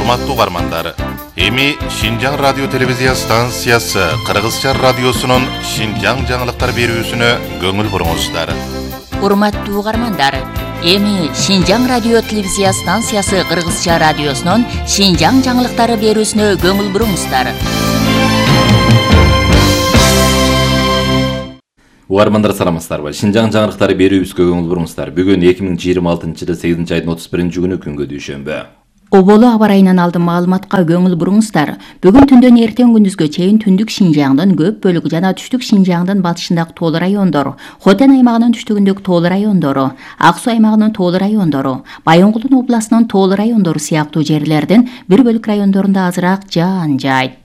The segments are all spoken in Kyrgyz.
Урматтуу угармандар, эми Шинжаң радио телевизия станциясы Кыргызча радиосунун Шинжаң жаңылыктар берүүсүнө көңүл буруңуздар. Урматтуу угармандар, эми Шинжаң радио телевизия станциясы Кыргызча радиосунун Шинжаң жаңылыктары берүүсүнө көңүл буруңуздар. Угармандар саламатсыздарбы? Шинжаң жаңылыктары берүүбүзгө көңүл буруңуздар. Бүгүн 2026-жылы 8-айдын 31-күнү күнгө дүйшөмбү. Оболу аба ырайынан алдын маалыматка көңүл буруңуздар. Бүгүн түндөн эртең күндүзгө чейин түндүк Шинжаңдын көп бөлүгү жана түштүк Шинжаңдын батышындагы тоолуу райондор, Хотен аймагынын түштүгүндөгү тоолуу райондору, Ак Суу аймагынын тоолуу райондору, Байонгулдун областынын тоолуу райондору сыяктуу жерлердин бир бөлүк райондорунда азыраак жаан жаайт.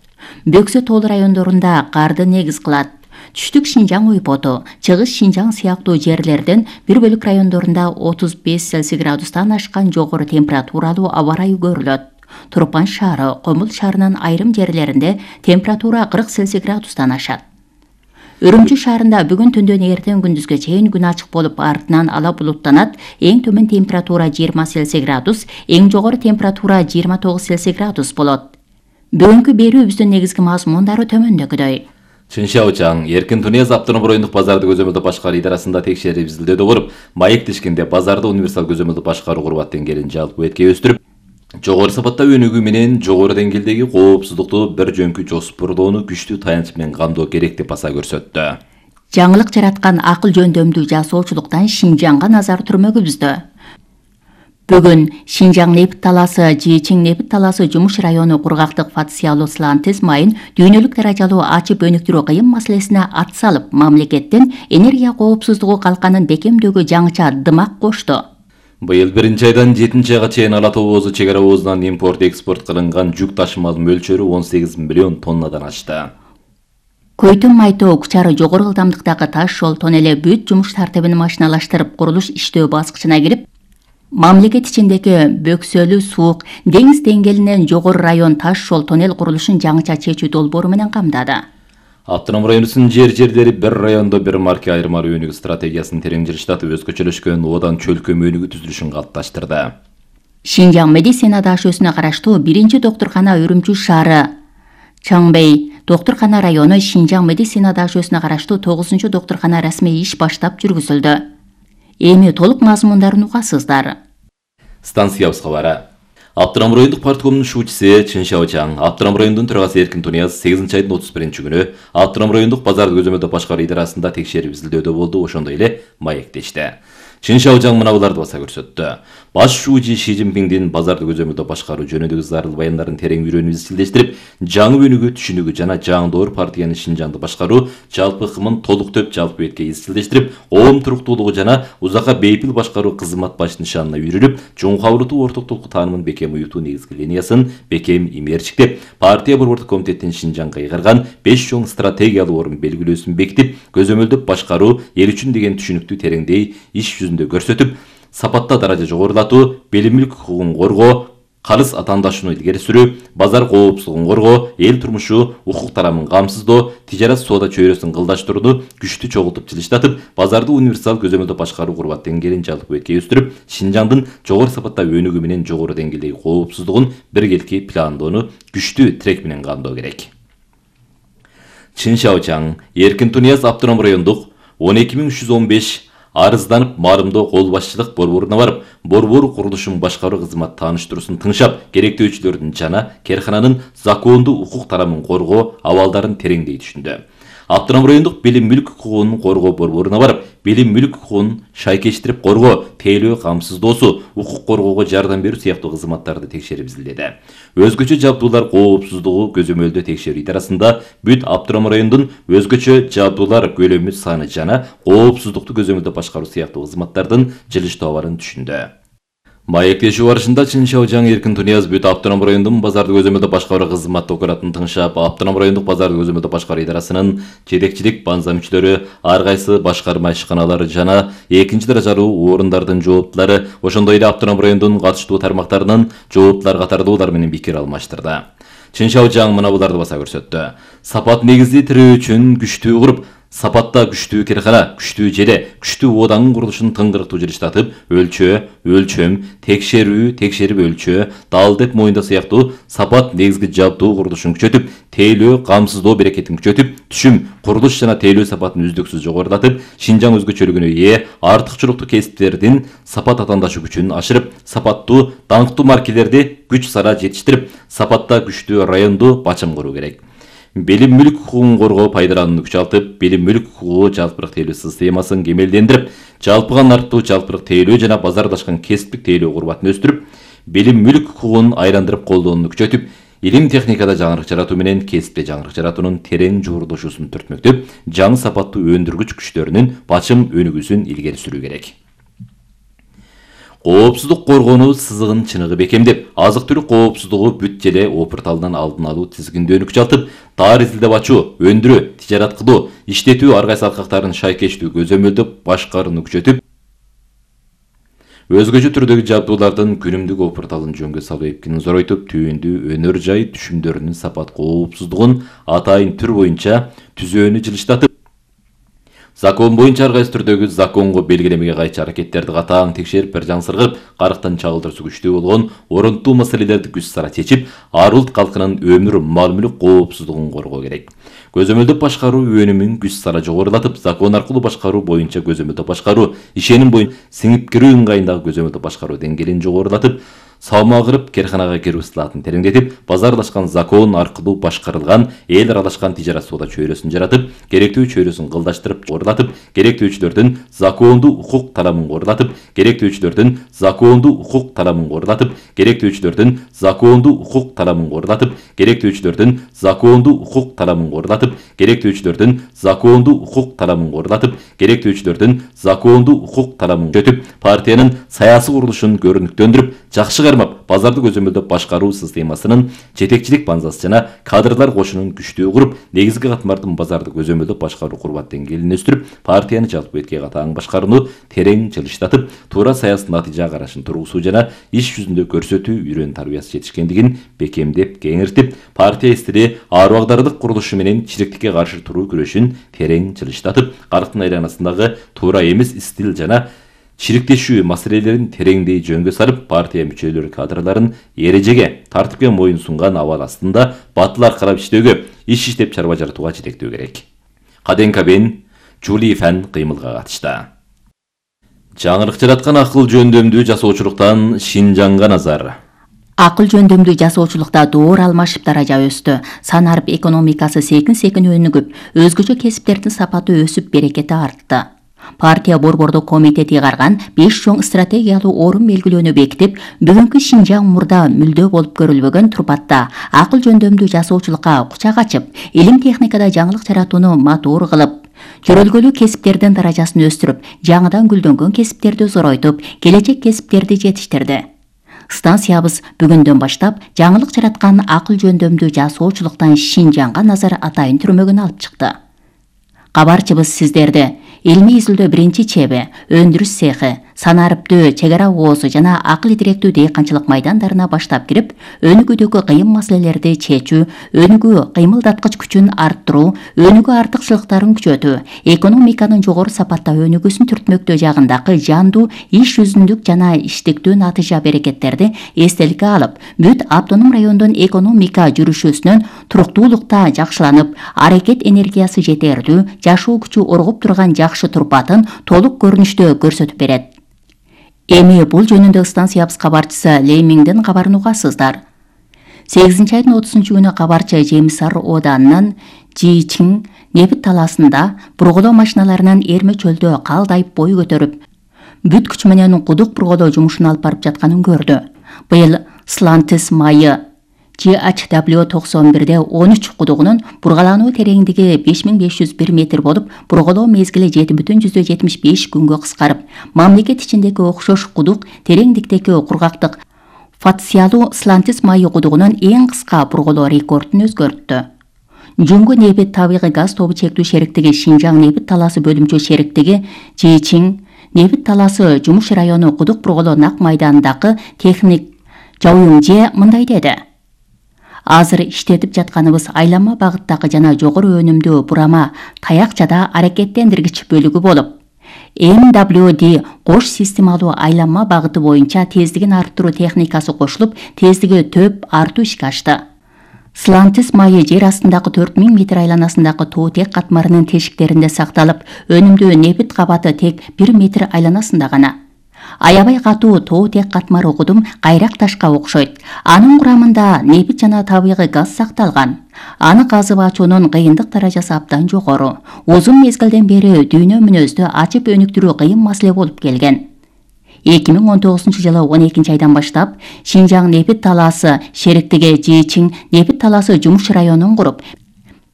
Бөксө тоолуу райондорунда карды негиз кылат. Түштүк Шинжаң ойпоту, Чыгыш Шинжаң сыяктуу жерлердин бир бөлүк райондорунда 35 Цельсий градустан ашкан жогору температуралуу аба ырайы көрүлөт. Турпан шаары, Комул шаарынын айрым жерлеринде температура 40 Цельсий градустан ашат. Үрүмчү шаарында бүгүн түндөн эртең күндүзгө чейин күн ачык болуп, артынан ала булуттанат. Эң төмөн температура 20 Цельсий градус, эң жогору температура 29 Цельсий градус болот. Бүгүнкү берүүбүздүн негизги мазмундары төмөндөгүдөй. Чыншаучаң, Эркин Тунияз автономдук райондук базарды көзөмөлдөө башкаруу идарасында текшерип изилдөөгө барып, маектешкенде базарды универсал көзөмөлдөө башкаруу курбат деңгээлин жалпы этке өстүрүп, жогору сапатта өнүгүү менен жогору деңгээлдеги коопсуздукту бир жөнкү жоспордоону күчтүү таянч менен камдоо керек деп баса көрсөттү. Жаңылык жараткан акыл жөндөмдүү жасоочулуктан Шинжаңга назар түрмөгүбүздө. Бүгүн Шинжаң Нефт талаасы, Жичиң Нефт талаасы жумуш району кургактык фациялуу слантез майын дүйнөлүк даражалуу ачып өнүктүрүү кыйын маселесине ат салып, мамлекеттин энергия коопсуздугу калканын бекемдөөгө жаңыча дымак кошту. Быйыл 1-айдан 7-айга чейин Ала Тоо Оозу чек ара оозунан импорт-экспорт кылынган жүк ташымалынын мөлчөрү 18 миллион тоннадан ашты. Көйтүн Майтоо Кучары жогору ылдамдыктагы таш жол тоннели бүт жумуш тартибин машиналаштырып, курулуш иштөө баскычына кирип, мамлекет ичиндеги бөксөлүү суук деңиз деңгээлинен жогору район таш жол тоннел курулушун жаңыча чечүү долбоору менен камдады. Автоном районубуздун жер-жерлери бир райондо бир марке айырмалуу өнүгүү стратегиясын терең жылыштатып, өзгөчөлөшкөн одан чөлкөм өнүгүү түзүлүшүн калыпташтырды. Шинжаң медицина дашөсүнө караштуу 1-доктуркана Үрүмчү шаары, Чаңбей доктуркана району, Шинжаң медицина дашөсүнө караштуу 9-доктуркана расмий иш баштап жүргүзүлдү. Эми толук мазмундарын угасыздар. Станциябыз кабары. Автоном райондук парткомдун шуучусу Чыншаучаң, Автоном районунун төрагасы Эркин Тунияз 8-айдын 31-күнү Автоном райондук базарды көзөмөлдөө башкаруу идарасында текшерип изилдөдө болду, ошондой эле маектешти. Чыншаучаң мынабуларды баса көрсөттү. Баш шуучу Ши Цзиньпиңдин базарды көзөмөлдөө башкаруу жөнүндөгү зарыл баяндарын терең үйрөнүп изилдештирип, жаңы өнүгүү түшүнүгү жана жаңдоор партиянын Шинжаңды башкаруу жалпы ыкымын толук төп жалпы бетке изилдештирип, оом туруктуулугу жана узакка бейпил башкаруу кызмат баш нишанына үйрүлүп, чоң ортоктук таанымын бекем уютуу негизги линиясын бекем имээрчиктеп, партия борбордук комитеттин Шинжаңга ыйгарган 5 чоң стратегиялуу орун белгилөөсүн бекитип, көзөмөлдөп башкаруу эл үчүн деген түшүнүктү тереңдей иш жүзүндө көрсөтүп, сапатта даража жогорулатуу, билим мүлк укугун коргоо, калыс атаандашууну илгери сүрүү, базар коопсуздугун коргоо, эл турмушу укук тарамын камсыздоо, тижарат соода чөйрөсүн кылдаштырууну күчтүү чогултуп жылыштатып, базарды универсал көзөмөлдөө башкаруу курбат деңгээлин жалпы бетке өстүрүп, Шинжаңдын жогору сапатта өнүгүү менен жогору деңгээлдеги коопсуздугун биргеликти пландоону күчтүү тирек менен камдоо керек. Чыншаучаң, Эркин Тунияз автоном райондук 12315 арызданып, маалымдоо кол башчылык борборуна барып, борбор курулушун башкаруу кызмат тааныштыруусун тыңшап, керектөөчүлөрдүн жана керкананын закондуу укук тарамын коргоо абалдарын тереңдей түшүндү. Автоном райондук билим мүлк укугун коргоо борборуна барып, билим мүлк укугун шайкештирип коргоо, тейлөө камсыздоосу, укук коргоого жардам берүү сыяктуу кызматтарды текшерип изилдеди. Өзгөчө жабдуулар коопсуздугу көзөмөлдөө текшерүү идарасында бүт автоном райондун өзгөчө жабдуулар көлөмү саны жана коопсуздукту көзөмөлдөө башкаруу сыяктуу кызматтардын жылыштоо абарын түшүндү. Маектешүү барышында Чыншаучаң Эркин Тунияз бүт автоном райондун базарды көзөмөлдөө башкаруу кызмат документин тыңшап, автоном райондук базарды көзөмөлдөө башкаруу идарасынын жетекчилик банза мүчөлөрү, ар кайсы башкарма ишканалары жана экинчи даражалуу орундардын жооптулары, ошондой эле автоном райондун катыштуу тармактарынын жооптулары катардуулар менен пикир алмаштырды. Чыншаучаң мынабуларды баса көрсөттү. Сапат негизди тирөө үчүн күчтүү куруп, Сапатта күчтүү керкана, күчтүү желе, күчтүү оодаңдын курулушун тыңгырыктуу жылыштатып, өлчөө, өлчөм, текшерүү, текшерип өлчөө, дал деп моюнда сыяктуу сапат негизги жабдуу курулушун күчөтүп, тейлөө, камсыздоо берекетин күчөтүп, түшүм, курулуш жана тейлөө сапатын үздүксүз жогорулатып, Шинжаң өзгөчөлүгүнө ээ артыкчылыктуу кесиптердин сапат атаандашу күчүн ашырып, сапаттуу, даңктуу маркелерди күч сара жетиштирип, сапатта күчтүү райондуу бачым куруу керек. Белим мүлк хукугун коргоо пайдаланууну күчалтып, белим мүлк хукугу жалпырак тейлөө системасын кемелдендирип, жалпыга нарттуу жалпырак тейлөө жана базарлашкан кесиптик тейлөө курбатын өстүрүп, белим мүлк хукугун айландырып колдоону күчөтүп, илим техникада жаңырык жаратуу менен кесипте жаңырык жаратуунун терең жуурдушуусун түртмөктөп, жаңы сапаттуу өндүргүч күчтөрүнүн бачым өнүгүүсүн илгери сүрүү керек. Коопсуздук коргонуу сызыгын чыныгы бекемдеп, азык-түлүк коопсуздугу бүт желе опурталдан алдын алуу тизгиндөөнү күчалтып, таар изилдеп ачуу, өндүрүү, тижарат кылуу, иштетүү ар кайсы алкактарын шайкечтүү көзөмөлдөп башкарууну күчөтүп, өзгөчө түрдөгү жабдуулардын күнүмдүк опурталын жөнгө салуу эпкинин зоройтуп, түйүндүү өнөр жай түшүмдөрүнүн сапат коопсуздугун атайын түр боюнча түзөөнү жылыштатып, закон боюнча ар кайсы түрдөгү законго белгилемеге кайчы аракеттерди катаң текшерип, бир жаңсыргып, карыктан чагылдыруусу күчтүү болгон орунтуу маселелерди күч сара чечип, ар улут калкынын өмүр, мал мүлк коопсуздугун коргоо керек. Көзөмөлдөп башкаруу өнүмүн күч сара жогорулатып, закон аркылуу башкаруу боюнча көзөмөлдөп башкаруу, ишеним боюнча сиңип кирүү ыңгайындагы көзөмөлдөп башкаруу деңгээлин жогорулатып, салмагырып керканага кирүү ысылатын тереңдетип, базарлашкан закон аркылуу башкарылган эл аралашкан тижарат соода чөйрөсүн жаратып, керектүү чөйрөсүн кылдаштырып жогорулатып, керектүүчүлөрдүн закондуу укук таламын корулатып, керектүүчүлөрдүн закондуу укук таламын корулатып, керектүүчүлөрдүн закондуу укук таламын корулатып, керектүүчүлөрдүн закондуу укук таламын корулатып, керектүүчүлөрдүн закондуу укук таламын корулатып, керектүүчүлөрдүн закондуу укук таламын күчөтүп, партиянын саясий курулушун көрүнүктөндүрүп, жакшы кармап, базарды көзөмөлдөп башкаруу системасынын жетекчилик базасы жана кадрлар кошунун күчтүү куруп, негизги катмардын базарды көзөмөлдөп башкаруу курбат деңгээлин өстүрүп, партияны жалпы бетке катаң башкарууну терең жылыштатып, туура саясий натыйжа карашын тургузуу жана иш жүзүндө көрсөтүү үйрөн тарбиясы жетишкендигин бекемдеп, кеңиртип, партия стили арбагдардык курулушу менен чиректикке каршы туруу күрөшүн терең жылыштатып, карыктын айланасындагы туура эмес стил жана чириктешүү маселелерин тереңдей жөнгө сарып, партия мүчөлөрү кадрларын эрежеге, тартипке моюн сунган абал астында батыл аркалап иштөөгө, иш иштеп чарба жаратууга жетектөө керек. Каден Кабен Жули Фан кыймылга катышты. Жаңырык жараткан акыл жөндөмдүү жасоочулуктан Шинжаңга назар. Акыл жөндөмдүү жасоочулукта доор алмашып даража өстү. Санарып экономикасы секин-секин өнүгүп, өзгөчө кесиптердин сапаты өсүп, берекети артты. Партия борбордук комитети чыгарган 5 чоң стратегиялуу орун белгилөөнү бекитип, бүгүнкү Шинжаң мурда мүлдө болуп көрүлбөгөн турпатта акыл жөндөмдүү жасоочулукка кучак ачып, илим техникада жаңылык жаратууну матур кылып, жөрөлгөлүү кесиптердин даражасын өстүрүп, жаңыдан гүлдөнгөн кесиптерди зоройтуп, келечек кесиптерди жетиштирди. Станциябыз бүгүндөн баштап жаңылык жараткан акыл жөндөмдүү жасоочулуктан Шинжаңга назар атайын түрмөгүн алып чыкты. Кабарчыбыз сиздерди илмий изилдөө биринчи чеби, өндүрүш цехи, санарыптөө, чек ара оозу жана акыл идиректүү дейканчылык майдандарына баштап кирип, өнүгүүдөгү кыйын маселелерди чечүү, өнүгүү кыймылдаткыч күчүн арттыруу, өнүгүү артыкчылыктарын күчөтүү, экономиканын жогору сапатта өнүгүүсүн түртмөктөө жагындагы жандуу, иш жүзүндүк жана иштиктүү натыйжа берекеттерди эстеликке алып, бүт автоном райондун экономика жүрүшүсүнүн туруктуулукта жакшыланып, аракет энергиясы жетерлүү, жашоо күчү оргуп турган жакшы турпатын толук көрүнүштө көрсөтүп берет. Эми бул жөнүндө станциябыз кабарчысы Леймиңдин кабарын угасыздар. 8-айдын 30-күнү кабарчы Жемисар ооданынын Жичиң нефт талаасында бурголоо машиналарынын эрме чөлдө калдайып бой көтөрүп, бүт күч менен кудук бурголоо жумушун алып барып жатканын көрдү. Быйыл Слантис майы GHW91-де 13 кудугунун бургалануу тереңдиги 5501 метр болуп, бурголоо мезгили 7,75 күнгө кыскарып, мамлекет ичиндеги окшош кудук тереңдиктеги кургактык Фатсиялуу Слантис майы кудугунун эң кыска бурголоо рекордун өзгөрттү. Жуңгу нефт табигый газ тобу чектүү шериктиги Шинжаң нефт талаасы бөлүмчө шериктиги Жичиң нефт талаасы жумуш району кудук бурголоо нак майданындагы техник Жауюңже мындай деди. Азыр иштетип жатканыбыз айланма багыттагы жана жогору өнүмдүү бурама таякчада аракеттендиргич бөлүгү болуп, MWD кош системалуу айланма багыты боюнча тездигин арттыруу техникасы кошулуп, тездиги төп артуу ишке ашты. Slantis майы жер астындагы 4000 метр айланасындагы тоо тек катмарынын тешиктеринде сакталып, өнүмдүү нефт кабаты тек 1 метр айланасында гана. Аябай катуу тоо тек катмары кудум кайрак ташка окшойт. Анын курамында нефт жана табигый газ сакталган. Аны казып ачуунун кыйындык даражасы абдан жогору. Узун мезгилден бери дүйнө мүнөздө ачып өнүктүрүү кыйын маселе болуп келген. 2019-жылы 12 айдан баштап Шинжаң нефт талаасы шериктиги Жичиң нефт талаасы жумуш районун куруп,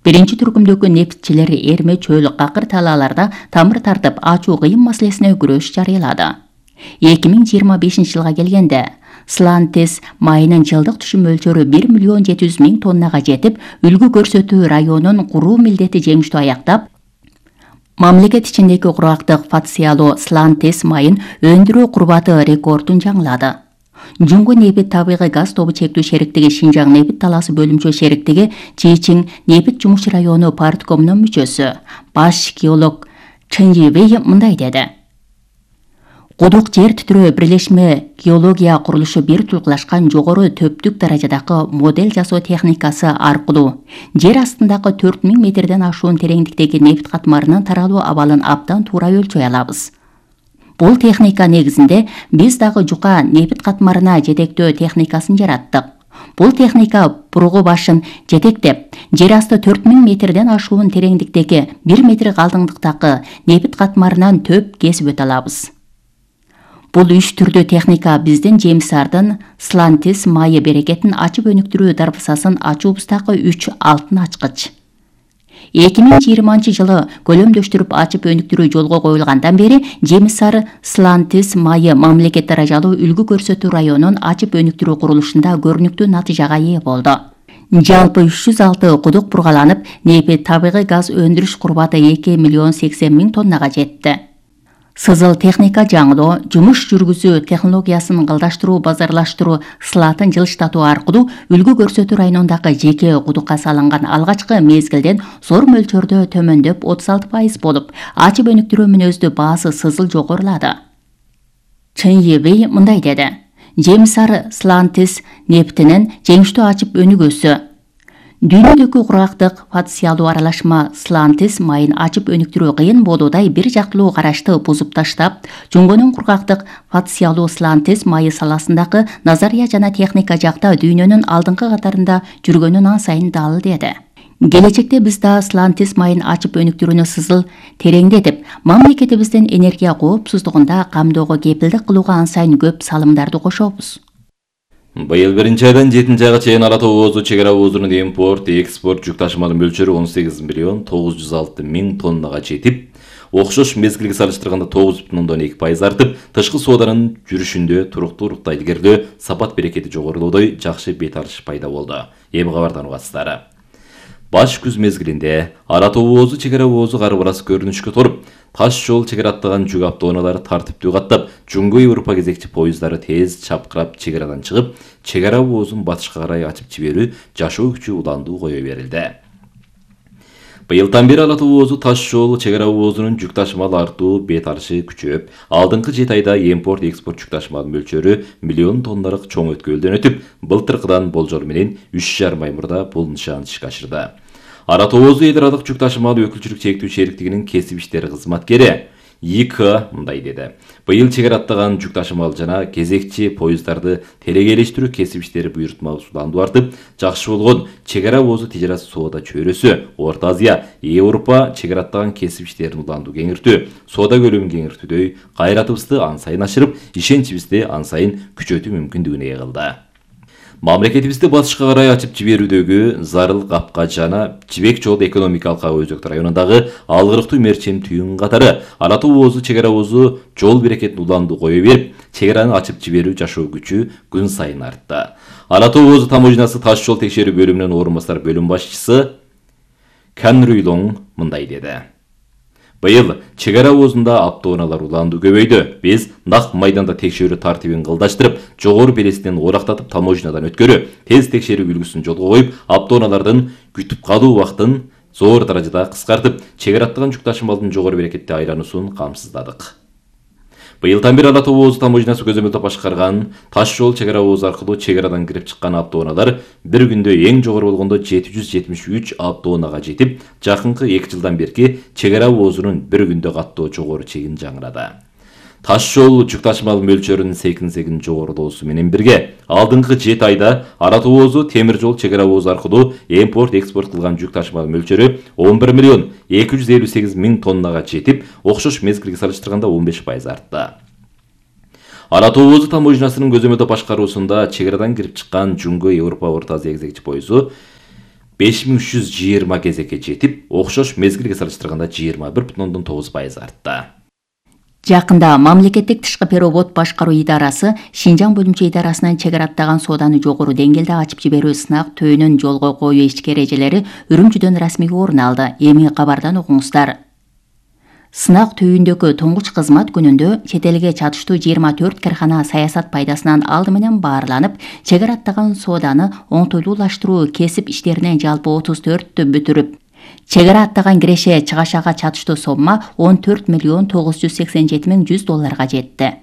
биринчи түркүмдөгү нефтчилер эрме чөл какыр талааларда тамыр тартып ачуу кыйын маселесине күрөш жарыялады. 2025-жылга келгенде Slantis майынын жылдык түшүм мөлчөрү 1 миллион 700 миң тоннага жетип, үлгү көрсөтүү районун куруу милдети жеңиштүү аяктап, мамлекет ичиндеги курактык фациялуу Slantis майын өндүрүү курбаты рекордун жаңылады. Жуңгу нефт табигый газ тобу чектүү шериктиги Шинжаң нефт талаасы бөлүмчө шериктиги Жичиң нефт жумуш району парткомунун мүчөсү, баш геолог Чын Жибей мындай деди. Кудук жер титирөө бирлешме геология курулушу бир тулкулашкан жогору төптүк даражадагы модель жасоо техникасы аркылуу жер астындагы 4000 метрден ашуун тереңдиктеги нефт катмарынын таралуу абалын абдан туура өлчөй алабыз. Бул техника негизинде биз дагы жука нефт катмарына жетектөө техникасын жараттык. Бул техника буругу башын жетектеп, жер асты 4000 метрден ашуун тереңдиктеги 1 метр калдыңдыктагы нефт катмарынан төп кесип өтө алабыз. Бул 3 түрдүү техника биздин жемисардын Slantis майы берекетин ачып өнүктүрүү дарбасасын ачуубуздагы 3 алтын ачкыч. 2020-жылы көлөмдөштүрүп ачып өнүктүрүү жолго коюлгандан бери жемисар Slantis майы мамлекет даражалуу үлгү көрсөтүү районун ачып өнүктүрүү курулушунда көрүнүктүү натыйжага ээ болду. Жалпы 306 кудук бургаланып, нефт табигый газ өндүрүш курбаты 2 миллион 80 миң тоннага жетти. Сызыл техника жаңылоо, жумуш жүргүзүү технологиясын кылдаштыруу, базарлаштыруу сылатын жылыштатуу аркылуу үлгү көрсөтүү районундагы жеке кудукка салынган алгачкы мезгилден зор мөлчөрдө төмөндөп 36% болуп, ачып өнүктүрүү мүнөздүү баасы сызыл жогорулады. Чын Жибей мындай деди. Жемисар Slantis нефтинин жеңиштүү ачып өнүгүүсү. Дүйнөдөгү курактык фациялуу аралашма Slantis майын ачып өнүктүрүү кыйын болуудай бир жактылуу карашты бузуп таштап, жуңгунун кургактык фациялуу Slantis майы саласындагы назария жана техника жакта дүйнөнүн алдыңкы катарында жүргөнүн ансайын дал деди. Келечекте биз да Slantis майын ачып өнүктүрүүнү сызыл тереңдетип, мамлекетибиздин энергия коопсуздугунда камдөөгө кепилдик кылууга ансайын көп салымдарды кошобуз. Быйыл 1-айдан 7-айга чейин Ара тоо оозу чек ара оозунун импорт, экспорт жүк ташыманын мөлчөрү 18 миллион 906 миң тоннага жетип, окшош мезгилге салыштырганда 9,2% артып, тышкы сооданын жүрүшүндө туруктуулукта илгерилөө, сапат берекети жогорулоодой жакшы бет алыш пайда болду. Эми кабардан угасыздар. Баш күз мезгилинде Ара тоо оозу чек ара оозу карбарасы көрүнүшкө торуп, таш жол чек араттаган жүк автоунаалары тартиптүү каттап, Жуңгу Европа кезекчи поезддары тез чапкырап чек арадан чыгып, чек ара оозун батышка карай ачып жиберүү жашоо күчү уландуу кое берилди. Быйылдан бери Ара тоо оозу таш жол чек ара оозунун жүк ташымал артуу бет алышы күчөп, алдыңкы 7 айда импорт-экспорт жүк ташымал мөлчөрү миллион тонналык чоң өткөлдөн өтүп, былтыркыдан болжол менен 3,5 ай мурда бул нышан ишке ашырды. Ара тоо оозу эл аралык жүк ташымал өкүлчүлүк чектүү шериктигинин кесип иштери кызматкери ИК мындай деди. Быйыл чек араттаган жүк ташымал жана кезекчи поезддарды телегейлештирүү кесип иштери буйртмалуу уландуу артып, жакшы болгон чек ара оозу тижарат соода чөйрөсү, Орто Азия, Европа чек араттаган кесип иштерин уландуу кеңиртүү, соода көлөмүн кеңиртүүдөй кайратыбызды ансайын ашырып, ишеничибизди ансайын күчөтүү мүмкүндүгүнө ээ кылды. Мамлекетибизди батышка карай ачып жиберүүдөгү зарыл капка жана Жибек жол экономикалык ага өзөктү районундагы алгырыктуу мерчем түйүн катары Ара тоо оозу чек ара оозу жол берекетин уландуу кое берип, чек араны ачып жиберүү жашоо күчү күн сайын артты. Ара тоо оозу таможнасы таш жол текшерүү бөлүмүнүн орун басар бөлүм башчысы Кан Рюйлоң мындай деди. Быйыл чек ара оозунда автоунаалар улаандуу көбөйдү. Биз нак майданда текшерүү тартибин кылдаштырып, жогору белесинен орактатып таможнядан өткөрүү, тез текшерүү үлгүсүн жолго коюп, автоунаалардын күтүп калуу убактын зор даражада кыскартып, чек ара аттаган жүк ташымалдын жогору берекетте айлануусун камсыздадык. Быйылдан бери Ала Тоо оозу таможнясы көзөмөлдөп башкарган таш жол чек ара оозу аркылуу чек арадан кирип чыккан автоунаалар бир күндө эң жогору болгондо 773 автоунаага жетип, жакынкы 2 жылдан берки чек ара оозунун бир күндө каттоо жогору чегин жаңырады. Таш жол жүк ташымал мөлчөрүнүн секин жогорулоосу менен бирге, алдыңкы 7 айда Ала Тоо оозу темир жол чек ара оозу аркылуу импорт-экспорт кылган жүк ташымал мөлчөрү 11 миллион 258 миң тоннага жетип, окшош мезгилге салыштырганда 15% артты. Ала Тоо оозу таможнясынын көзөмөлдөп башкаруусунда чек арадан кирип чыккан Жумгө Европа Орто Азия кезекчи поезу 5320 кезекке жетип, окшош мезгилге салыштырганда 21,9% артты. Жакында мамлекеттик тышкы перевод башкаруу идарасы Шинжаң бөлүмчө идарасынан чек ара аттаган сооданы жогору деңгээлде ачып жиберүү сынак төөнүн жолго коюу ички эрежелери Үрүмчүдөн расмий орун алды. Эми кабардан окуңуздар. Сынак түйүндөгү туңгуч кызмат күнүндө чет элге чатыштуу 24 кархана саясат пайдасынан алды менен баарланып, чек ара аттаган сооданы оңтойлуулаштыруу кесип иштеринен жалпы 34-тү бүтүрүп, чек ара аттаган киреше чыгашага чатыштуу сомма 14 миллион 987 миң $100 жетти.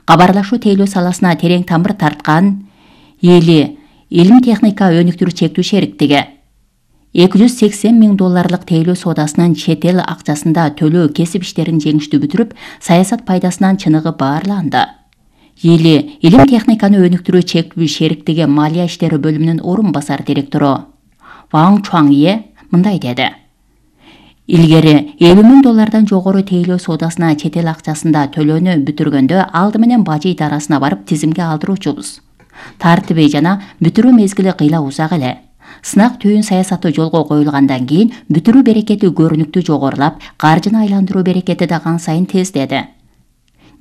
Кабарлашуу тейлөө саласына терең тамыр тарткан Эли Илим техника өнүктүрүү чектүү шериктиги $280 миң тейлөө соодасынын чет эл акчасында төлөө кесип иштерин жеңиштүү бүтүрүп, саясат пайдасынан чыныгы баарланды. Эли Илим техниканы өнүктүрүү чектүү шериктиги малия иштери бөлүмүнүн орун басар директору Ваң Чуаңе мындай деди. Илгери $50 миң жогору тейлөө соодасына чет эл акчасында төлөөнү бүтүргөндө алды менен бажы идарасына барып тизимге алдыруучубуз. Тартиби жана бүтүрүү мезгили кыйла узак эле. Сынак түйүн саясаты жолго коюлгандан кийин бүтүрүү берекети көрүнүктүү жогорулап, каржыны айландыруу берекети да кан сайын тездеди.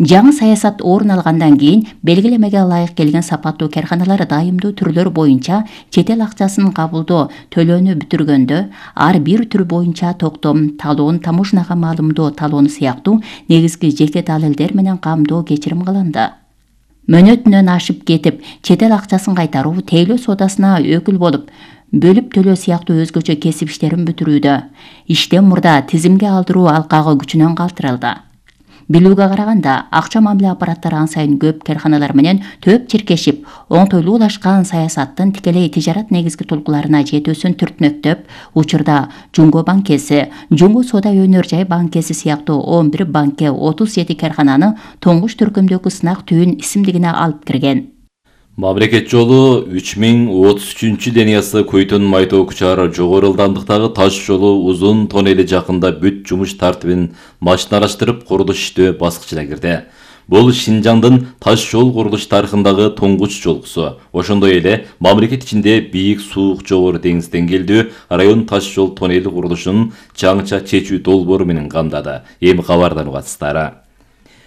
Жаңы саясат орун алгандан кийин белгилемеге ылайык келген сапаттуу карханалар дайымдуу түрлөр боюнча чет эл акчасын кабылдоо төлөөнү бүтүргөндө ар бир түр боюнча токтом, талоон, таможняга маалымдоо талоону сыяктуу негизги жеке далилдер менен камдоо кечирим кылынды. Мөөнөтүнөн ашып кетип, чет эл акчасын кайтаруу, тейлөө соодасына өкүл болуп, бөлүп төлөө сыяктуу өзгөчө кесип иштерин бүтүрүүдө иштен мурда тизимге алдыруу алкагы күчүнөн калтырылды. Билүүгө караганда, акча мамиле аппараттары ан сайын көп карханалар менен төп чиркешип, оңтойлуулашкан саясаттын тикелей тижарат негизги толкуларына жетүүсүн түртмөктөп, учурда Жумго банкеси, Жумго соода өнөр жай банкеси сыяктуу 11 банке 37 кархананы тоңгуч түркүмдөгү сынак түйүн исимдигине алып кирген. Мамлекет жолу 3033 линиясы Көйтөн Майтоо Кучар жогору ылдамдыктагы таш жолу узун тоннели жакында бүт жумуш тартибин машиналаштырып курулуш иштөө баскычына кирди. Бул Шинжаңдын таш жол курулуш тарыхындагы туңгуч жолкусу. Ошондой эле мамлекет ичинде бийик суук жогору деңиз деңгээлдүү район таш жол тоннели курулушунун жаңыча чечүү долбоору менен камдады. Эми кабардан угасыздар.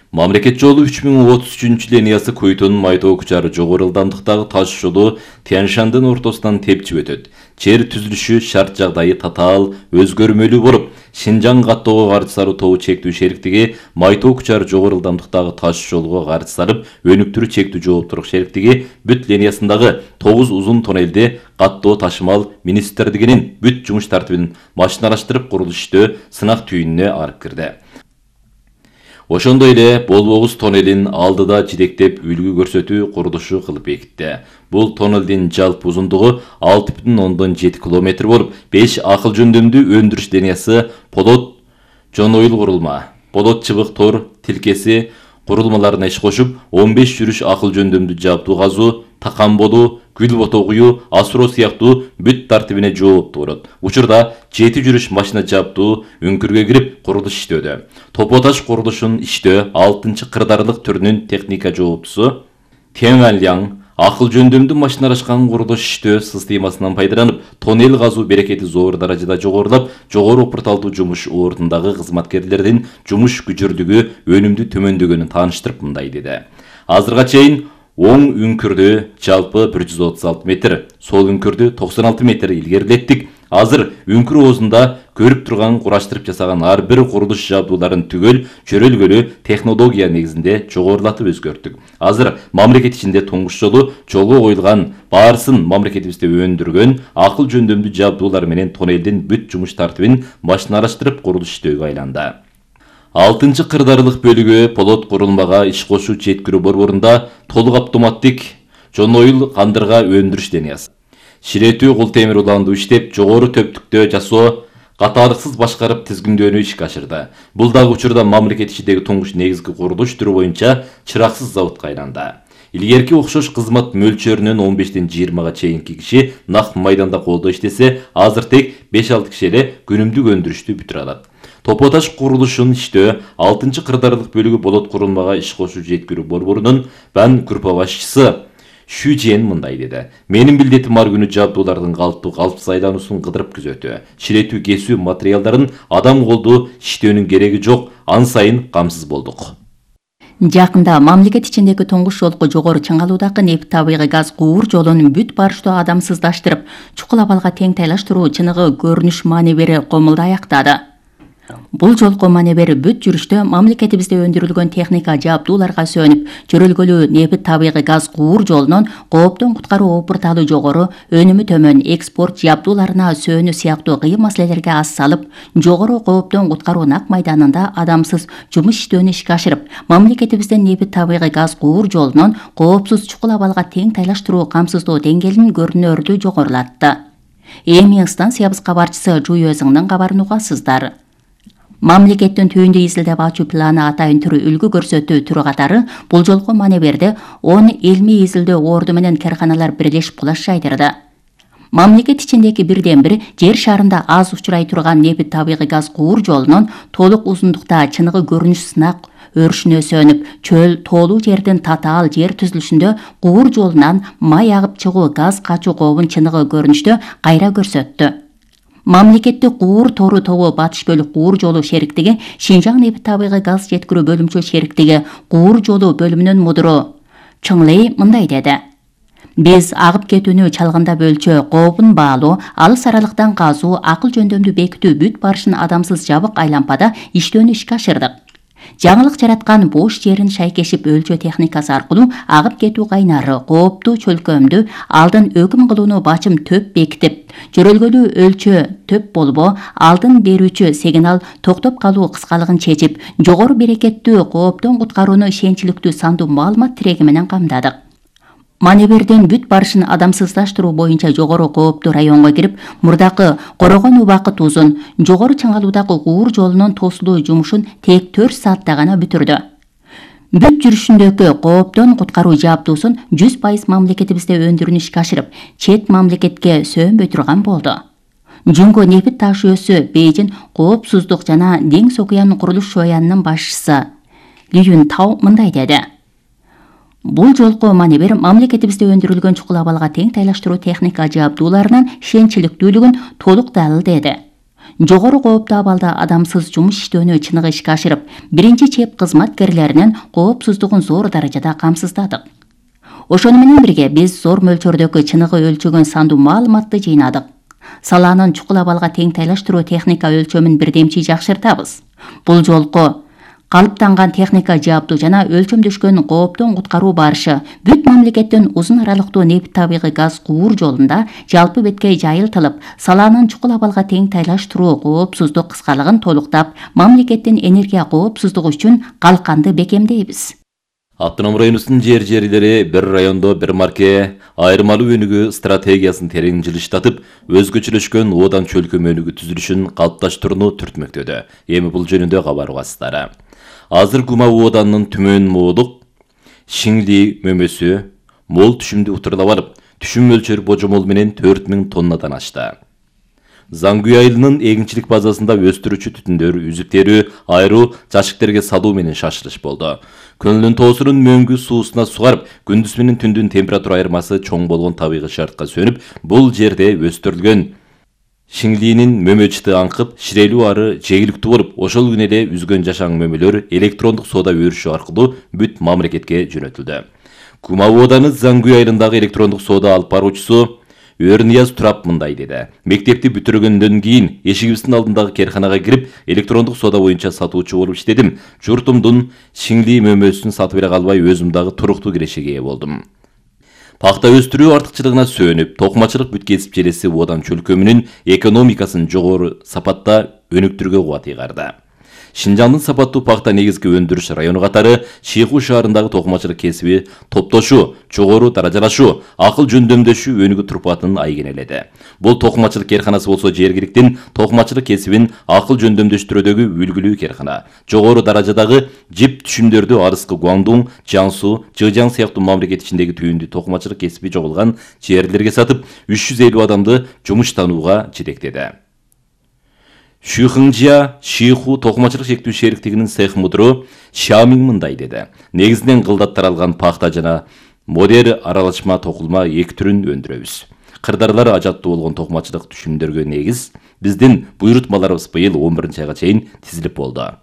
Мамлекет жолу 3033 линиясы Көйтөн Майтоо Кучар жогору ылдамдыктагы таш жолу Тянь-Шандын ортосунан тепчип өтөт. Жер түзүлүшү шарт жагдайы татаал өзгөрмөлүү болуп, Шинжаң каттоого каршы саруу тобу чектүү шериктиги Майтоо Кучар жогору ылдамдыктагы таш жолго каршы сарып өнүктүрүү чектүү жооптуулук шериктиги бүт линиясындагы 9 узун тоннелди каттоо ташымал министрлигинин бүт жумуш тартибин машиналаштырып курулуш иштөө сынак түйүнүнө алып кирди. Ошондой эле Болбогуз тоннелин алдыда жидектеп үлгү көрсөтүү курулушу кылып бекитти. Бул тоннелдин жалпы узундугу 6,7 км болуп, 5 акыл жөндөмдүү өндүрүш линиясы, подот, жон ойл курулма, подот чыбык тор тилкеси курулмаларына иш кошуп, 15 жүрүш акыл жөндөмдүү жабдуу казуу, такан болуу, гүл бото куюу, асыроо сыяктуу бүт тартибине жооптуу болот. Учурда 7 жүрүш машина жабдуу үңкүргө кирип курулуш иштөөдө. Топо таш курулушун иштөө 6-кырдаарлык түрүнүн техника жооптусу Тянь-Шань акыл жөндөмдүү машиналашкан курулуш иштөө системасынан пайдаланып, тоннел казуу берекети зор даражада жогорулап, жогору порталдуу жумуш ордундагы кызматкерлердин жумуш күчүрлүгү өнүмдүү төмөндөгөнүн тааныштырып мындай деди. Азырга чейин оң үңкүрдү жалпы 136 метр, сол үңкүрдү 96 метр илгерилеттик. Азыр үңкүр оозунда көрүп турган кураштырып жасаган ар бир курулуш жабдууларын түгөл чөрөлгөлүү технология негизинде жогорулатып өзгөрттүк. Азыр мамлекет ичинде туңгуш жолу жолго коюлган баарысын мамлекетибизде өндүргөн акыл жөндөмдүү жабдуулар менен тоннелдин бүт жумуш тартибин машиналаштырып курулуш иштөөгө айланды. 6-кырдаарлык бөлүгү полот курулмага иш кошуу жеткирүү борборунда толук автоматтик жонойыл кандырга өндүрүш линиясы, ширетүү кул темир уланды иштеп, жогору төптүктө жасоо катаалыксыз башкарып тизгиндөөнү ишке ашырды. Бул дагы учурда мамлекет ичиндеги туңгуш негизги курулуш түрү боюнча чыраксыз заводко айланды. Илгерки окшош кызмат мөлчөрүнөн 15-тен 20-га чейинки киши нак майданда колдо иштесе, азыр тек 5-6 киши эле күнүмдүк өндүрүштү бүтүрө алат. Топо таш курулушун иштөө 6-кырдаарлык бөлүгү болот курулмага иш кошуу жеткирүү борборунун бан группа башчысы Шүжен мындай деди. Менин билдетим ар күнү жабдуулардын калыпсыз айлануусун кыдырып күзөтүү, ширетүү кесүү материалдарын адам колду иштөөнүн кереги жок, ан сайын камсыз болдук. Жакында мамлекет ичиндеги туңгуш жолку жогору чыңалуудагы нефть табигый газ куур жолун бүт барыштуу адамсыздаштырып, чукул абалга тең тайлаштыруу чыныгы көрүнүш маанебери комулду аяктады. Бул жолку маневер бүт жүрүштө мамлекетибизде өндүрүлгөн техника жабдууларга сөнүп, чөрөлгөлүү нефть табигый газ куур жолунун кооптон куткаруу опурталы жогору, өнүмү төмөн экспорт жабдууларына сөнүү сыяктуу кыйын маселелерге ас салып, жогору кооптон куткаруу нак майданында адамсыз жумуш иштөөнү ишке ашырып, мамлекетибизден нефть табигый газ куур жолунун коопсуз чукул абалга тең тайлаштыруу камсыздоо деңгээлин көрүнөрдүү жогорулатты. Эми станциябыз кабарчысы Жуйөзүңдүн кабарын угасыздар. Мамлекеттин түйүндү изилдеп ачуу планы атайын түрү үлгү көрсөтүү түрү катары бул жолку маневерде 10 илмий изилдөө орду менен карканалар бирлешип кулаш жайдырды. Мамлекет ичиндеги бирден бир жер шарында аз учурай турган нефть табигый газ куур жолунун толук узундукта чыныгы көрүнүш сынак өрүшүнө сөнүп, чөл тоолуу жердин татаал жер түзүлүшүндө куур жолунан май агып чыгуу газ качуу кообун чыныгы көрүнүштө кайра көрсөттү. Мамлекеттик куур тору тобу батыш бөлүк куур жолу шериктиги, Шинжаң нефть табигый газ жеткирүү бөлүмчө шериктиги куур жолу бөлүмүнүн мудуру Чыңлей мындай деди. Биз агып кетүүнү чалгында бөлчө, кообун баалоо, алыс аралыктан казуу, акыл жөндөмдүү бекитүү бүт барышын адамсыз жабык айлампада иштөөнү ишке ашырдык. Жаңылык жараткан бош жерин шайкешип өлчөө техникасы аркылуу агып кетүү кайнары, кооптуу чөлкөмдү алдын өкүм кылууну бачым төп бекитип, жөрөлгөлүү өлчөө төп болбо, алдын берүүчү сигнал токтоп калуу кыскалыгын чечип, жогору берекеттүү кооптон куткарууну ишенчиликтүү сандуу маалымат тиреги менен камдадык. Маневерден бүт барышын адамсыздаштыруу боюнча жогору кооптуу районго кирип, мурдакы корогон убакыт узун, жогору чыңалуудагы куур жолунун тосулуу жумушун тек 4 саатта гана бүтүрдү. Бүт жүрүшүндөгү кооптон куткаруу жабдуусун 100% мамлекетибизде өндүрүүнү ишке ашырып, чет мамлекетке сөнбөй турган болду. Жүнгө нефть таш жүйөсү Бейжин коопсуздук жана Деңиз окуян курулуш шоянынын башчысы Ли Юн Тау мындай деди. Бул жолку маневер мамлекетибизде өндүрүлгөн чукул абалга тең тайлаштыруу техника жабдууларынын ишенчиликтүүлүгүн толук далил деди. Жогору кооптуу абалда адамсыз жумуш иштөөнү чыныгы ишке ашырып, биринчи чеп кызматкерлеринин коопсуздугун зор даражада камсыздадык. Ошону менен бирге биз зор мөлчөрдөгү чыныгы өлчөгөн сандуу маалыматты жыйнадык. Салаанын чукул абалга тең тайлаштыруу техника өлчөмүн бирдемчи жакшыртабыз. Бул жолку калыптанган техника жабдуу жана өлчөмдөшкөн кооптон куткаруу барышы бүт мамлекеттин узун аралыктуу нефть табигый газ куур жолунда жалпы беткей жайылтылып, салаанын чукул абалга тең тайлаштыруу коопсуздук кыскалыгын толуктап, мамлекеттин энергия коопсуздугу үчүн калканды бекемдейбиз. Автоном районубуздун жери бир райондо бир марке айырмалуу өнүгүү стратегиясын терең жылыштатып, өзгөчөлөшкөн оодан чөлкөм өнүгүү түзүлүшүн калыпташтырууну түртмөктөдү. Эми бул жөнүндө кабар угасыздар. Азыр Кума ооданынын түмөн моодук Шиңли мөмөсү мол түшүмдү утурлап алып, түшүм мөлчөрү божомол менен 4000 тоннадан ашты. Зангүй айылынын эгинчилик базасында өстүрүүчү түтүндөр үзүп терүү, айруу, жашыктерге салуу менен шашылыш болду. Көнүлүн тоосунун мөңгү суусуна сугарып, күндүз менен түндүн температура айырмасы чоң болгон табигый шартка сөнүп, бул жерде өстүрүлгөн Шиңлинин мөмөчүтү аңкып, ширелүү ары жегиликтүү болуп, ошол күнү эле үзгөн жашаң мөмөлөр электрондук соода өрүшү аркылуу бүт мамлекетке жөнөтүлдү. Кума ооданы Зангүй айылындагы электрондук соода алып баруучусу Өрнияз Турап мындай деди. Мектепти бүтүргөндөн кийин эшигибиздин алдындагы керканага кирип, электрондук соода боюнча сатуучу болуп иштедим. Журтумдун шиңли мөмөсүн сатып бере калбай, өзүм дагы туруктуу кирешеге ээ болдум. Пахта өстүрүү артыкчылыгына сөөнүп, токмачылык бүт кесип желеси Одан чөлкөмүнүн экономикасын жогору сапатта өнүктүрүүгө кубат ыйгарды. Шинжаңдын сапаттуу пахта негизги өндүрүш району катары Шейху шаарындагы токмачылык кесиби топтошуу, жогору даражалашуу, акыл жөндөмдөшүү өнүгүү турпатын айгинеледи. Бул токмачылык керканасы болсо жергиликтин токмачылык кесибин акыл жөндөмдөштүрүүдөгү үлгүлүү керкана. Жогору даражадагы жип түшүмдөрдү арыскы Гуандун, Жансу, Жыжаң сыяктуу мамлекет ичиндеги түйүндүү токмачылык кесиби жогулган жерлерге сатып, 350 адамды жумуштанууга жетектеди. Шүйхыңжия Шейху токмачылык шектүү шериктигинин цех мудуру Шамиң мындай деди. Негизинен кылдат таралган пахта жана модер аралашма токулма эки түрүн өндүрөбүз. Кырдарлары ажаттуу болгон токмачылык түшүмдөргө негиз биздин буйрутмаларыбыз быйыл 11-айга чейин тизилип болду.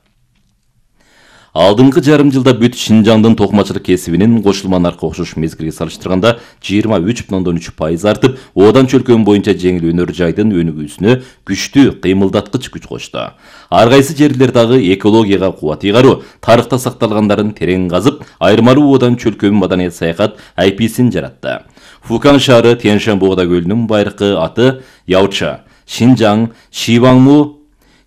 Алдыңкы жарым жылда бүт Шинжаңдын токмачылык кесибинин кошулма наркы окшош мезгилге салыштырганда 23,3% артып, Одан чөлкөмү боюнча жеңил өнөр жайдын өнүгүүсүнө күчтүү кыймылдаткыч күч кочту. Ар кайсы жерлер дагы экологияга кубат ыйгаруу, тарыхта сакталгандарын терең казып, айырмалуу Одан чөлкөмү маданият саякат IP'син жаратты. Фукан шаары Тянь-Шань-Богда көлүнүн байыркы аты Яучы, Шинжаң, Шиваңму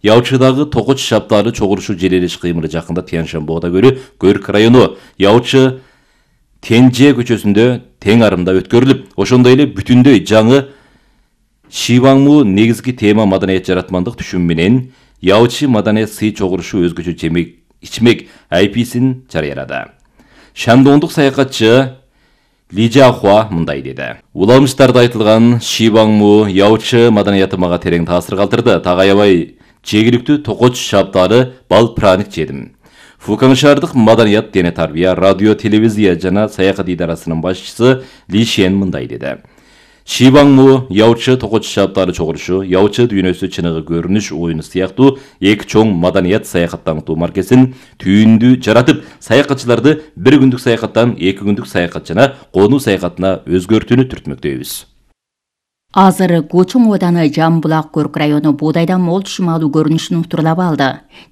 Яучыдагы Токоч шаптары чогулушу желелеш кыймылы жакында Тянь-Шань-Богда көлү Көрк району Яучы Тенже көчөсүндө тең арымда өткөрүлүп, ошондой эле бүтүндөй жаңы Шиваңму негизги тема маданият жаратмандык түшүм менен Яучы маданият сый чогулушу өзгөчө жемек ичмек IP'син жарыялады. Шандондук саякатчы Ли Жахуа мындай деди. Уламыштарда айтылган Шиваңму Яучы маданияты мага терең таасир калтырды. Так аябай жергиликтүү Токоч шаптары бал праник жедим. Фукан шаардык маданият дене тарбия, радио, телевизия жана саякат идарасынын башчысы Ли Шен мындай деди. Шиваңму Яучы Токоч шаптары чогулушу, Яучы дүйнөсү чыныгы көрүнүш оюну сыяктуу эки чоң маданият саякат таңытуу маркесин түйүндү жаратып, саякатчыларды бир күндүк саякаттан 2 күндүк саякат жана конуу саякатына өзгөртүүнү түртмөктөйбүз. Азыр Кучуң Оданы Жамбулак Көрк району буудайдан мол түшүм алуу көрүнүшүн утурлап алды.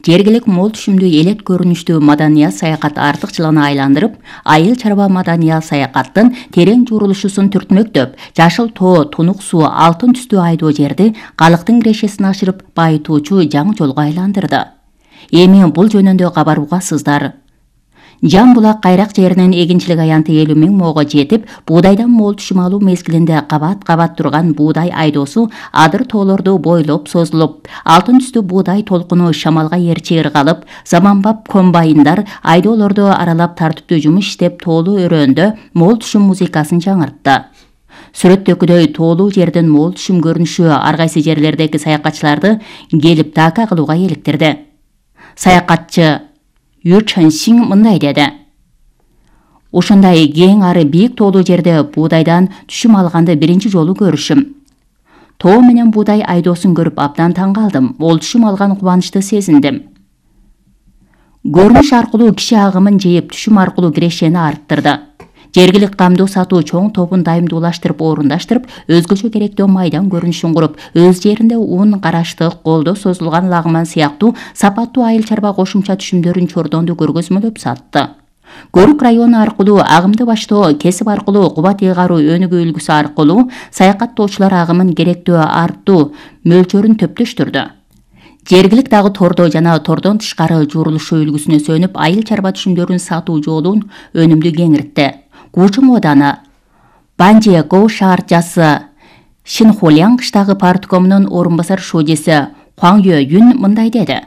Жергилик мол түшүмдүү элет көрүнүштүү маданият саякат артыкчылыгына айландырып, айыл чарба маданият саякаттын терең журулушусун түртмөктөп, жашыл тоо, тунук суу, алтын түстүү айдоо жерди калктын кирешесин ашырып, байытуучу жаңы жолго айландырды. Эми бул жөнүндө кабарбугасыздар. Жамбулак кайрак жеринен эгинчилик аянты 50 000 моого жетип, буудайдан мол түшүм алуу мезгилинде кабат турган буудай айдоосу адыр тоолорду бойлоп созулуп, алтын түстүү буудай толкуну шамалга эрчи ыргалып, заманбап комбайндар айдоолорду аралап тартиптүү жумуш иштеп, тоолуу өрөөндө мол түшүм музыкасын жаңыртты. Сүрөттөкүдөй тоолуу жердин мол түшүм көрүнүшү ар кайсы жерлердеги саякатчыларды келип така кылууга эликтирди. Саякатчы Ю Чэнсиң мындай деди. Ошондой кең ары бийик тоолуу жерде буудайдан түшүм алганды биринчи жолу көрүшүм. Тоо менен буудай айдоосун көрүп абдан таң калдым. Мол түшүм алган кубанычты сезиндим. Көрүнүш аркылуу киши агымын жейип, түшүм аркылуу кирешени арттырды. Жергилик камдуу сатуу чоң тобун дайымдуулаштырып, орундаштырып, өзгөчө керектүү майдан көрүнүшүн куруп, өз жеринде ун, караштык, колдо созулган лагман сыяктуу сапаттуу айыл чарба кошумча түшүмдөрүн чордонду көргөзмөлөп сатты. Көрк району аркылуу агымды баштоо, кесип аркылуу кубат ыйгаруу өнүгүү үлгүсү аркылуу саякаттоочулар агымын керектүү арттуу мөлчөрүн төптөштүрдү. Жергилик дагы тордо жана тордон тышкары журулушу үлгүсүнө сөнүп, айыл чарба түшүмдөрүн сатуу жолун өнүмдүү кеңиртти. Кучуң Оданы Банже Гоу шаарчасы Шинхоляң кыштагы парткомунун орун басар шожеси Хуаң Юн мындай деди.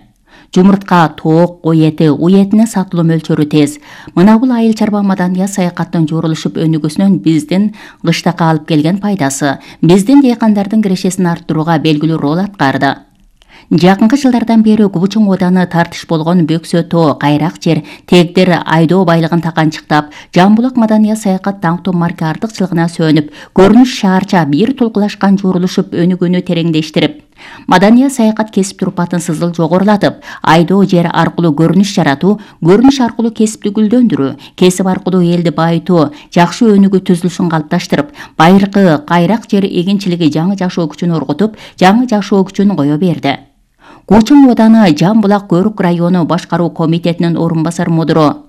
Жумуртка, тоок, кой эти, уй этине сатылуу мөлчөрү тез. Мына бул айыл чарба маданият саякаттын журулушуп өнүгүүсүнөн биздин кыштакка алып келген пайдасы, биздин дыйкандардын кирешесин арттырууга белгилүү рол аткарды. Жакынкы жылдардан бери Кучуң Оданы тартыш болгон бөксө тоо, кайрак жер, тегдер айдоо байлыгын таканчыктап, Жамбулак маданият саякат таңтоо марка артыкчылыгына сөнүп, көрүнүш шаарча бир тулкулашкан журулушуп өнүгүүнү тереңдештирип, Маданий саякат кесип турпатын сызыл жогорулатып, айдоо жер аркылуу көрүнүш жаратуу, көрүнүш аркылуу кесипти гүлдөндүрүү, кесип аркылуу элди байытуу, жакшы өнүгүү түзүлүшүн калыпташтырып, байыркы кайрак жер эгинчилиги жаңы жашоо күчүн оргутуп, жаңы жашоо күчүн кое берди. Кучун ооданы Жамбулак Көрүк району башкаруу комитетинин орун басар мудуру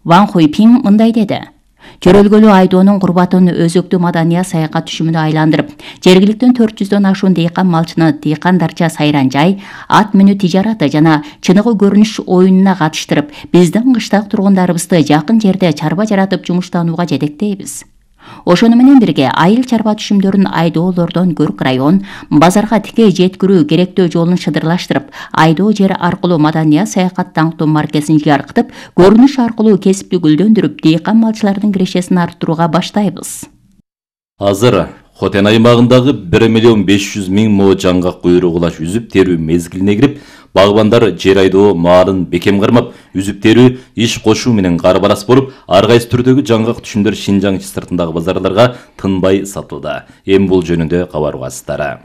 Ван Хуйпин мындай деди. Чөрөлгөлүү айдоонун курбатын өзөктүү маданий саякат түшүмүнө айландырып, жергиликтен 400дөн ашуун дыйкан малчыны дыйкандарча сайранжай, ат менүү тижараты жана чыныгы көрүнүш оюнуна катыштырып, биздин кыштак тургундарыбызды жакын жерде чарба жаратып жумуштанууга жетектейбиз. Ошону менен бирге айыл чарба түшүмдөрүн айдоолордон Көрүк район базарга тикей жеткирүү керектөө жолун шыдырлаштырып, айдоо жер аркылуу маданий саякат даңктуу маркесин жаркытып, көрүнүш аркылуу кесипти гүлдөндүрүп, дыйкан малчылардын кирешесин арттырууга баштайбыз. Азыр Хотен аймагындагы 1.500.000 мо жаңгак куйрук улаш үзүп терүү мезгилине кирип, багбандар жер айдоо маалын бекем кармап, үзүп терүү иш кошуу менен карбарас болуп, ар кайсы түрдөгү жаңгак түшүмдөр Шинжаң сыртындагы базарларга тынбай сатылды. Эми бул жөнүндө кабар угасыздары.